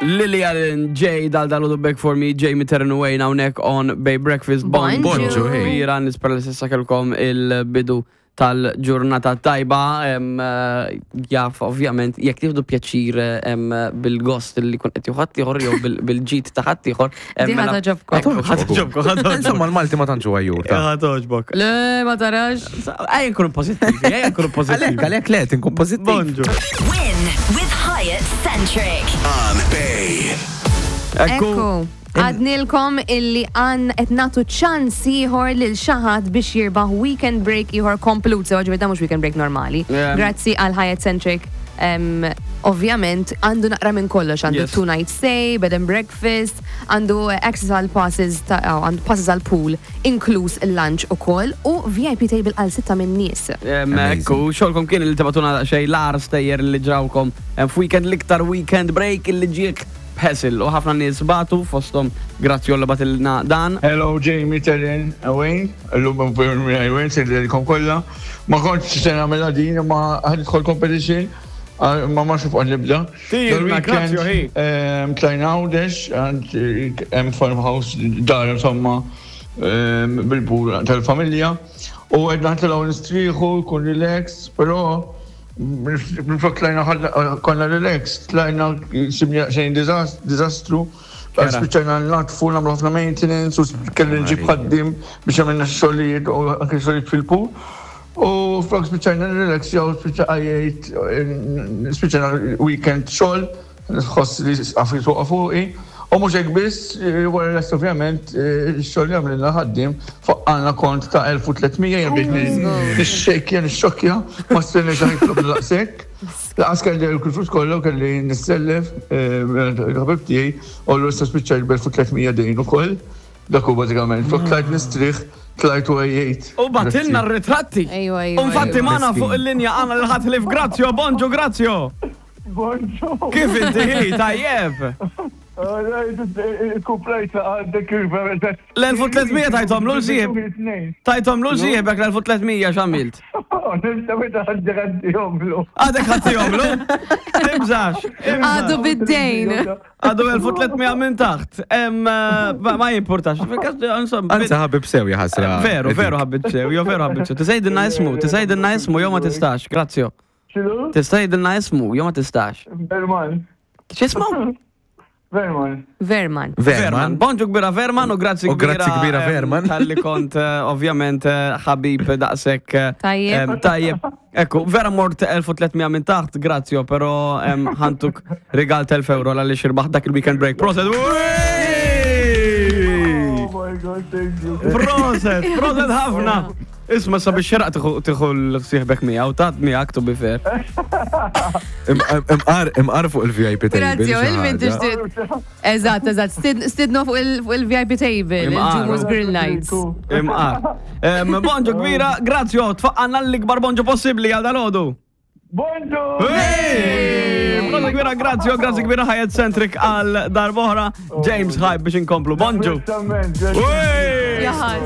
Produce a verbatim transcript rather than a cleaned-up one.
Lily Allen, Jay, dal dal Beg for Me, Jamie Terran Wayne, hawnhekk on Bay Breakfast. Bonġu. Bonġu, hey. Kbira, nispera li s'issa kellkom il-bidu tal-ġurnata tajba, em, eh, jaf, ovvjament, jekk tieħdu pjaċir em, bil-gost li kun qed juħat ieħor jew bil- bil-ġid ta' ħadd ieħor. em, Di ħa mela- togħġobkom. Ekku, ħa togħġobkom, ħa togħġobkom. Insomma, l-Malti ma tantx huwa jur. ta' Ħa togħġbok. Le, ma tarax. Ejja nkunu pożittivi, ejja nkunu Għalek, pożittivi. għalek le, tinkun pozittiv. Bonġu. Win with Hyatt Centric. On Bay. Ekku. Ekku. Għadnilkom illi għan qed nagħtu ċans ieħor lil xi ħadd biex jirbaħ weekend break ieħor komplut, sewa ġifieri mhux weekend break normali. Yeah. Grazzi għal Hyatt Centric. Um, ovvjament għandu naqra minn kollox, għandu Yes. two night stay, bed and breakfast, għandu access għal passes, ta' oh, għandu passes għal pool, inkluż il-lunch u koll, u V I P table għal sitta minn nies. Em, Ekku, xogħolkom kien li tibagħtuna xejn l-agħar stejjer li ġrawkom em, f'weekend, l-iktar weekend break li ġiek b'ħesil, u ħafna nies bagħtu, fosthom Grazzjolla bagħtilna dan. Hello, Jamie, Terren, Wayne, l-lum Wayne, sejlkom kolla. Ma kontx se nagħmilha din, ma ħa nidħol competition, ah, ma ma xuf nibda. Tirna, grazie, hi. Tlajna Għawdex, għand hemm farmhouse, dar insomma, em, bil-pool tal-familja. U għedna nitilgħu nistrieħu, kun relax, però minflok tlajna ħadna- konna relax, tlajna sibna xejn dizastru. Kera. Spiċċajna naddfu, nagħmlu ħafna maintenance, u kelli nġib ħaddim biex għamilna xogħlijiet u anke xogħlijiet fil-pool. U flok spiċċajna relax, jew spiċċajt, spiċċajna weekend xogħol, nħoss li għafri fuqa fuqi. U mhux hekk biss, wara l ovvjament, x-xogħol li għamlilna ħaddim, faqqalna kont ta' elf u tliet mija, jien bdejt nixxekja, nixxokkja, ma stenniex ħa jitlob daqshekk. Lanqas kelli l-flus kollu, kelli nissellef, il-ħabib tiegħi, u l-issa spiċċajt b'elf u tliet mija dejn ukoll. Dak hu bażikament, flok tlajt nistrieħ, tlajt u għejjejt. U bagħtilna r-ritratti. Ejwa, ejwa. U infatti ejwa. magħna Miskin. fuq il-linja għandna lil ħadd ħlief Grazzjo, bonġu Grazzjo. Bonġu. Kif inti hi, tajjeb? Kuplajt għandek il-verita. L-elf u tliet mija tajthom lil sieħeb. Tajthom lil sieħbek l-elf u tliet mija, x'għamilt? Nista meta għaddi għaddihomlu. Għadek ħadtihomlu? Tibżax. Għadu bid-dejn. Għadu elf u tliet mija minn taħt. Em, eh, Ma ma jimportax. Fil-kas, insomma, Anzi, ħabib sew jaħasra. Veru, veru ħabib sew, jo veru ħabib sew. Tista' jgħidilna ismu, tista' jgħidilna ismu, jew ma tistax, Grazzjo. X'inhu? Tista' jgħidilna ismu, jew ma tistax. Verman. X'ismu? Verman. Verman. Verman. Bonġu kbira Verman u grazzi U kbira. grazzi kbira em, Verman. Talli kont eh, ovvjament eh, ħabib daqshekk. eh, Tajjeb. em, Tajjeb. Ekku, vera mort elf u tliet mija minn taħt, Grazzjo, pero em, ħa ntuk rigal elf euro għaliex irbaħ dak il-weekend break. Proset! Oh my God, thank you. Proset, proset ħafna! Isma, sabiex xeraq tieħu l-sieħbek miegħu, tat miegħek, to be fair. Imqar, imqar fuq il-V I P table. Grazie, xi il-min ħaġa. tixtieq. Eżatt, eżatt. Stid- Stidnu fuq il- fuq il-V I P table, Imqar. il-Ġumus Grill Nights. Imqar. Em, Bonġu kbira, Grazzjo, tfaqqanna l-ikbar bonġu possibli għal dal-għodu. Bonġu! Grazzi kbira, Grazzjo, grazzi kbira Hyatt Centric għal darb'oħra. James Hype biex inkomplu. Bonġu. Esattament. Hey! Jaħas.